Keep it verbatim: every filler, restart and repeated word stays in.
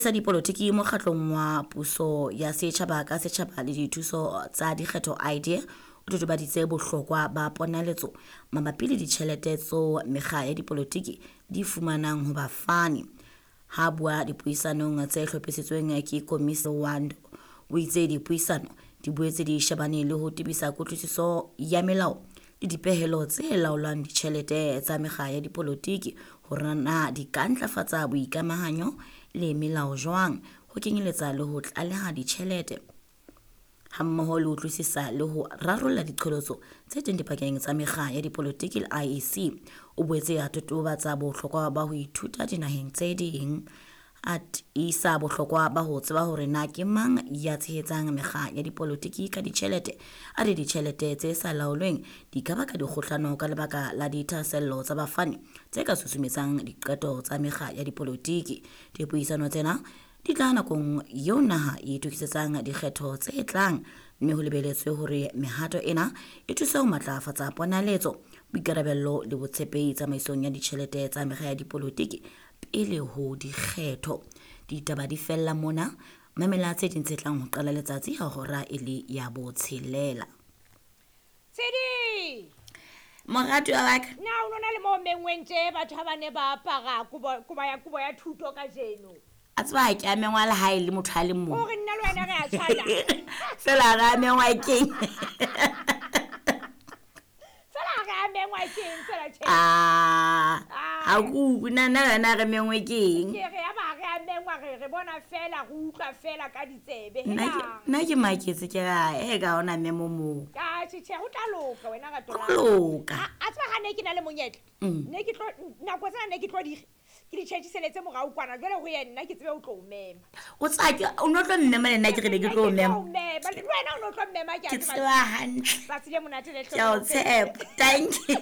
Sa dipolotiki mokgatlong wa puso ya setjhaba ka setjhaba le dithuso tsa dikgetho I D E o totobaditse bohlokwa ba ponaletso mabapi le ditjhelete tseo mekga ya dipolotiki di fumanang ho bafani. Ha bua dipuisanong tse hlophisitsweng ke Komisi Wando, o itse dipuisano di boetse di shebane le ho tebisa kutlwisiso ya melao le dipehelo tse laolang ditjhelete tsa mekga ya dipolotiki, hore na di ka ntlafatsa boikamahanyo le melao jwang, ho kenyeletsa le ho tlaleha ditjhelete, hammoho le ho utlwisisa le ho rarolla diqholotso tse teng dipakeng tsa mekga ya dipolotiki le I E C. O boetse a totobatsa bohlokwa ba ho ithuta dinaheng tse ding, a tiisa bohlokwa ba ho tseba hore na ke mang ya tshehetsang mekga ya dipolotiki ka ditjhelete. A re ditjhelete tse sa laolweng di ka baka dikgohlano ka lebaka la dithahasello tsa bafani tse ka susumetsang diqeto tsa mekga ya dipolotiki. Dipuisano tsena di tla nakong eo naha e itokisetsang dikgetho tse tlang, mme ho lebeletswe hore mehato ena e thuse ho matlafatsa ponaletso, boikarabello le botshepehi tsamaisong ya ditjhelete tsa mekga ya dipolotiki pele ho dikgetho. Ditaba di fella mona. Mamela tse ding tse tlang ho qala letsatsi ha hora e le ya botshelela. Tshedi! Moratuwa wa ka. Na o nona le mo mengweng tje batho ha ba ne ba apara kobo kobo ya kobo ya thuto kajeno? A tseba ha ke a mengwa le ha e le motho a le mong. Hore nna le wena re a tshwana. Fela re a mengwa keng? Fela re a mengwa keng fela tjhe? Ah, ha ke utlwe na nna le wena re mengwe keng. Ke re ya ba re a mengwa, re re bona fela, re utlwa fela ka ditsebe. Nna ke nna ke maketse, ke ra e ka ona memo moo. Ka tjhe tjhe, ho tla loka wena rato la. Ho loka. A tseba ha ne ke na le monyetla. Mm. Ne ke tlo nako tsena ne ke tlo di ke di tjhetjhiseletse morao kwana, jwale ho ye nna ke tsebe ho tlo o mema. O tseba ke o no tlo mmema, le nna ke re ne ke tlo o mema. O mema le wena, o no tlo mmema, ke a Ke tseba. tseba hantle. Tsatsi le monate le Ke a o tshepa. Thank you.